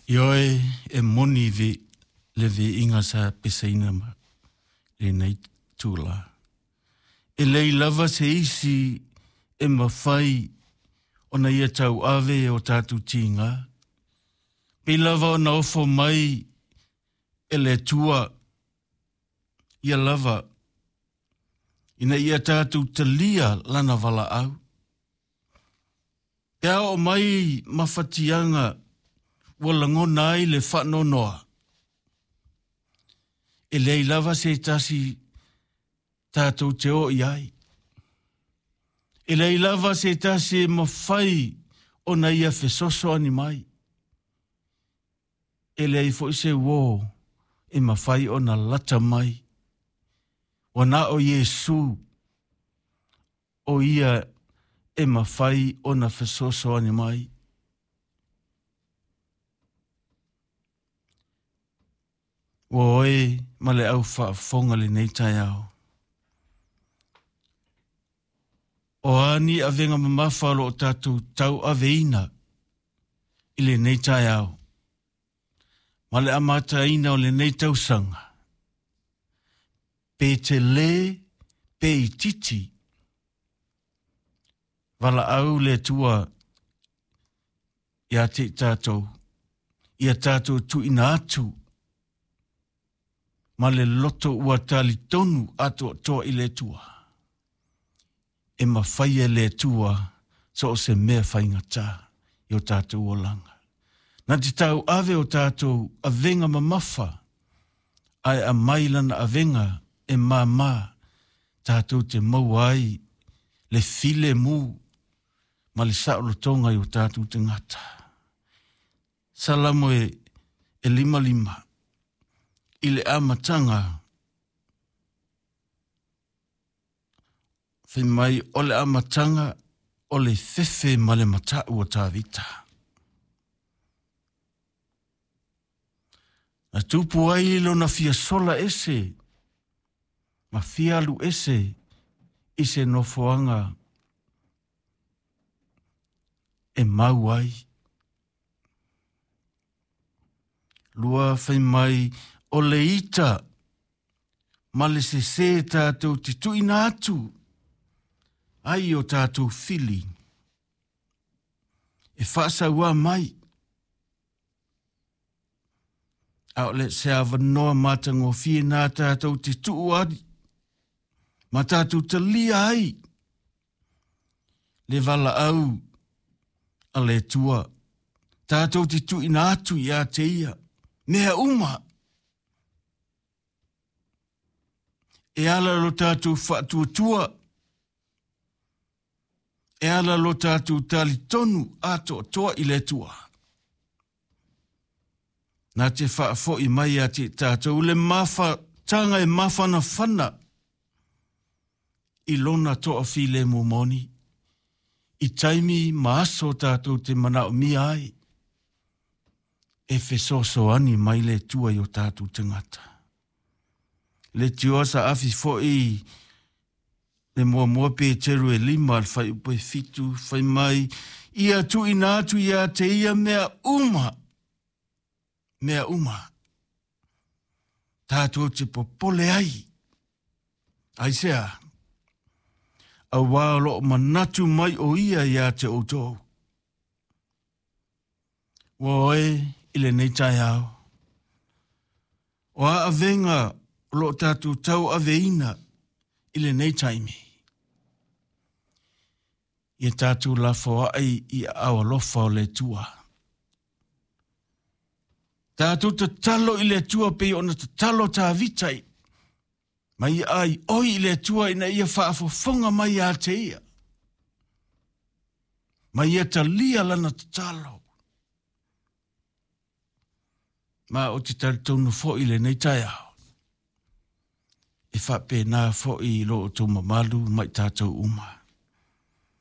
Ioe e moni ve le viiga sa pesaina ma lenei itulā. E leai lava se isi e mafai ona ia tauave e o tatou tiga, pei lava ona ofo mai e le Atua ia lava ina ia tatou talia lana valaau. Pe a oo mai mafatiaga ua lagona ai le faanoanoa, e leai lava se tasi tatou te oo i ai. E leai lava se tasi e mafai ona ia fesoasoani mai. E leai foi se uō e mafai ona lata mai. Ua na o Iesu o ia e mafai ona fesoasoani mai. Ua oe ma le au faafofoga lenei taeao. O a ni avega mamafa o lo o tatou tauaveina i lenei taeao ma le amataina o lenei tausaga, pe telē pe itiiti, valaau le Atua ia te i tatou, ia tatou tuuina atu ma le loto ua talitonu atoatoa i le Atua, e mafai e le Atua so o se mea faigata i o tatou olaga. Na te tauave o tatou avega mamafa, ae aumai lana avega e māmā tatou te maua ai le filemu ma le saolotoga i o tatou tagata. Salamo e, e 55 i le amataga fai mai o le amataga o le fefe ma le mata'u o Tavita. Na tupu ai lona fia sola ese ma fia alu ese i se nofoaga e mau ai. Lua fai mai o le ita ma le sesē tatou te tuuina atu ai o tatou fili e faasauā mai. A o le se avanoa matagofie nā tatou te tuu ai ma tatou talia ai le valaau a le Atua, tatou te tuuina atu ia te ia mea uma e ala lo tatou faatuatua, e ala lo tatou talitonu atoatoa i le Atua. Na te faafoi mai ia te tatou le mafataga e mafanafana i lona toafilemu moni, i taimi ma aso tatou te manaomia ai, e fesoasoani mai le Atua i o tatou tagata. Le tioa sa afi foi le muamua Peteru e 5 le fuaiupu e 7 fai mai, ia tuuina atu ia te ia mea uma, mea uma, tatou te popole ai. Aisea? Auā o lo o manatu mai o ia ia te outou. Ua oe i lenei taeao. O a avega o lo o tatou tauaveina i lenei taimi? Ia tatou lafoai i aao alofa o le Atua. Tatou tatalo i le Atua pei ona tatalo Tavita i ma ia aioi i le Atua ina ia faafofoga mai ia te ia, ma ia talia lana tatalo. Ma o te talitonu foi i lenei taeao, e faapena foi i lo outou mamalu ma i tatou uma.